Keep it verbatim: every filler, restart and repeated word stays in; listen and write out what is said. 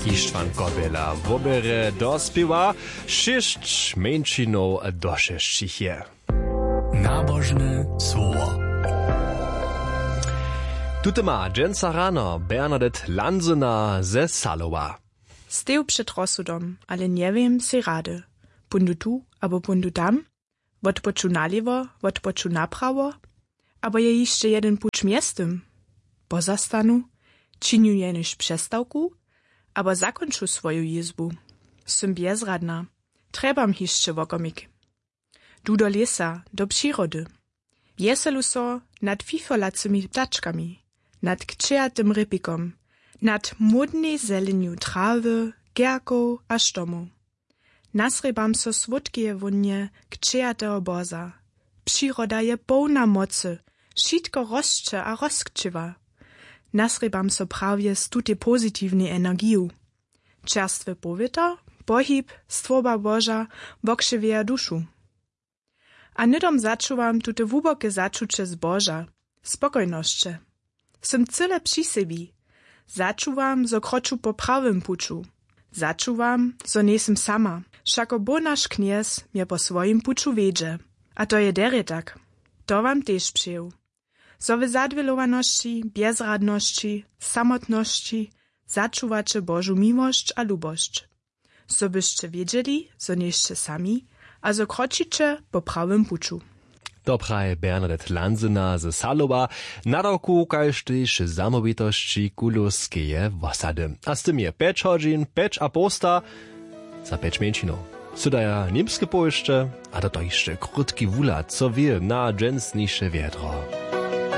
Ištwan Kobjela woběrje do spěwa. Šěsć mjeńšinow došesćich je. Nabožne słowo. Tute ma dźensa rano Bernadette Lanzyna ze Salowa. Steju před rozsudom, ale njewěm sej rady, póńdu tu abo póńdu tam, wotpoču nalěwo, wotpoču naprawo, abo je hišće jedyn puć mjeztym? Pozastanu, činju jenož přestawku, abo zakónču swoju jězbu? Sym bjezradna. Trjebam hišće wokomik. Du do lěsa, do přirody. Wjeselu so nad fifolacymi ptačkami, nad kćejatym rěpikom, nad módnej zelenju trawy, kerkow a štomow. Nasrěbam so słódkeje wónje kćejateho boza. Přiroda je połna mocy, wšitko rosće a rozkćěwa. Nasrěbam so prawje z tutej pozitiwnej energiju. Čerstwy powětr, pohib, stwórba boža wokřiwjeja dušu. A hnydom začuwam tute hłuboke začuće zboža, spokojnosće. Sym cyle při sebi. Začuwam, zo kroču po prawym puću. Začuwam, zo njejsym sama, wšako bóh naš knjez mje po swojim puću wjedźe. A to je derje tak. To wam tež přeju, zo w zadwělowanosći, bjezradnosći, samotnosći začuwaće božu miłosć a lubosć, zo byšće wědźeli, zo njejsće sami a zo kročiće po prawym puću. To praje Bernadette Lanzyna ze Salowa, nadawku kaž tež zamołwitosći kulowskeje wosady. A z tym je pjeć hodźin pjeć a połsta. Za pjeć mjeńšinow sydaja němske powěsće. A do to hišće krótki wuhlad, co wě na dźensniše wjedro.